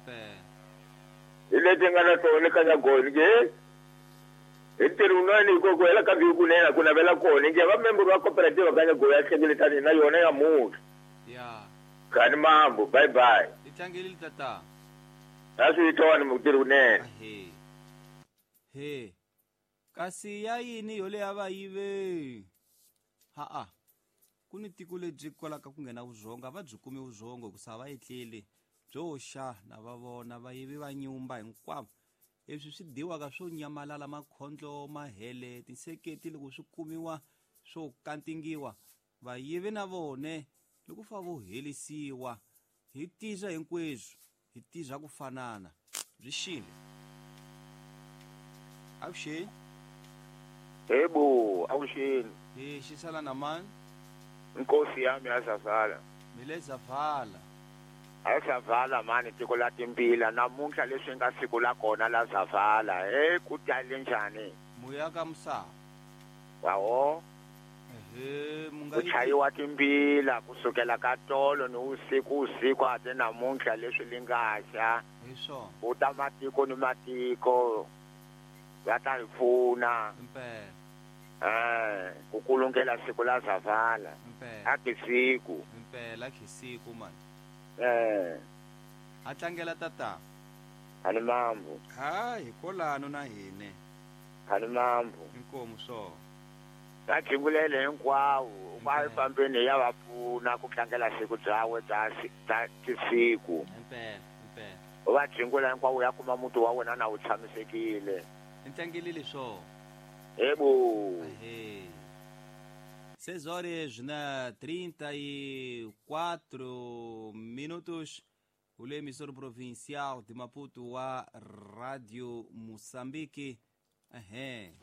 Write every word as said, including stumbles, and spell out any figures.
Impela. Hi leti nga na tona ka Nyagoni ke hi ntirho wun'wana hi ku hela ka vhiki kunene ku navela kona nge va membro wa cooperative ka Nyagoni ya hlengeletani na yona ya munhu. Ya. Kani mambo bye bye. Hi tlangelile tata. A swi tona mutirhi wunene. He. He. Kasi ya yini yo leya va yive? Ha a. Ku ni tiko lebyi kwalaka ku nghena vuzongo a va byi kumi vuzongo hikusa va etleli byo xa na va vona vayivi va nyumba hinkwavo leswi swi dyiwaka swo nyamalala makhondlo mahele tinseketi loko swi kumiwa swo kantingiwa vayivi na vone loko fa vo helisiwa hi tisa hinkweswo hi tisa ku fanana byi xile avuxeni. Yebo, avuxeni. Hi xisala na mani? Nkosi yami ya Zavala. Mile Zavala. A Zavala mani tiko la timbila namuntlha leswi nga siku la kona la Zavala. Eh ku tale njhani? Muya ka musa. Wawo. Ehe, munga ku chayiwa timbila kusukela ka tolo ni usiku usiku ate namuntlha leswi li nga xa. Hi swona. U ta matiko ni matiko. Va ta hi pfuna. Impela. Eh, ku kulungela siku la Zavala. Impela. A kisiku. Impela kisiku man. Eh. A tlangela tata. Ani mambo. Ha hi kolano na hine. Ani mambo. Inkomu so. Va jingulele hinkwawo, va fambeni ya va pfuna ku tlangela siku byawe bya bya tisiku. Impela, impela. Va jingula hinkwawo ya kuma muti wa wena na wu tshamisekile. Ntlangelile swo. Yebo. Ehe. seis horas na trinta e quatro minutos. O emissor provincial de Maputo, a Rádio Moçambique. Ehe.